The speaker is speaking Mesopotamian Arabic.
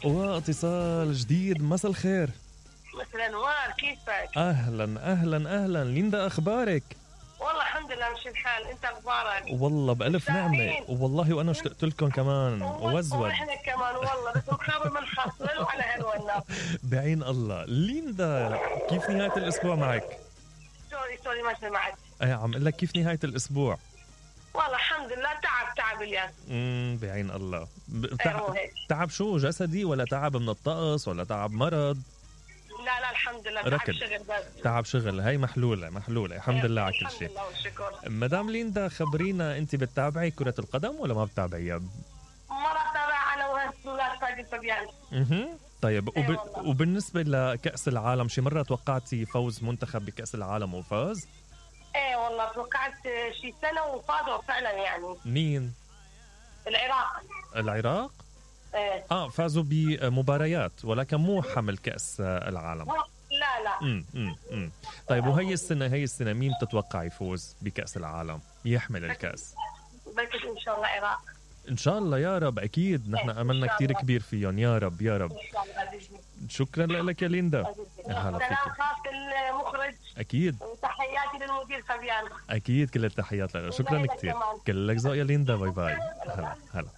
واتصال جديد. مساء الخير. مساء الانوار، كيفك؟ اهلا اهلا اهلا ليندا، اخبارك؟ والله الحمد لله مش الحال، انت اخبارك؟ والله بألف نعمة والله، وانا اشتقت لكم كمان وزود. واحنا كمان والله، بس مخابر من خاصل وعلى هالونا. بعين الله. ليندا كيف نهاية الاسبوع معك؟ سوري ما سمعت. عم اقول لك كيف نهاية الاسبوع؟ والله الحمد لله تعب اليوم. بعين الله. تعب شو، جسدي ولا تعب من الطقس ولا تعب مرض؟ لا الحمد لله تعب شغل بس. تعب شغل، هاي محلولة الحمد لله على كل شيء. الحمد لله والشكر. مدام ليندا خبرينا، انت بتتابعي كرة القدم ولا ما بتتابعيها؟ ما بتابع انا وهالسولات فادي فبيان. طيب وبالنسبة لكأس العالم، شي مرة توقعتي فوز منتخب بكأس العالم وفاز؟ ايه والله توقعت شي سنة وفازوا فعلا يعني. مين؟ العراق؟ ايه. فازوا بمباريات ولكن مو حمل كأس العالم. لا. طيب وهي السنة مين تتوقع يفوز بكأس العالم يحمل الكأس؟ بس ان شاء الله العراق. ان شاء الله يا رب، اكيد نحن املنا كتير كبير فيهم، يا رب يا رب. شكرا لك يا ليندا. سلام خاص المخرج اكيد، وتحياتي للمدير فبيان. اكيد كل التحيات له. شكرا كتير، كلك ذوق يا ليندا. باي باي. هلا